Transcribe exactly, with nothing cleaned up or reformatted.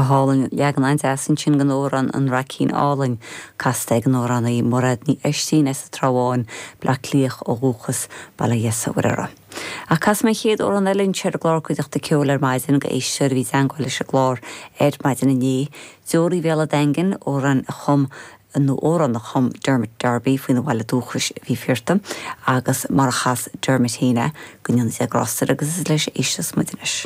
Go hálainn leagan an-deas ansin den amhrán an Raicín Álainn casta ag an amhránaí Mairéad Ní Oistín as an Trá Bháin Bleá Cliath ó dhúchas Baile Dheasa Mhuireara. Ach casfaidh mé an chéad amhrán eile anseo ar an gclár Cuideachta Ceoil ar maidin go éisteoir a bhí i dteagmháil leis an gclár ar maidin inné, Deoraí Bhéal an Daingin amhrán a chum nó amhrán a chum Dermot Darby faoina bhaile dúchais a bhí Fearta, agus mar a chas Dermot féin é go ndéana Dia grásta air agus is leis éisteas muid anois.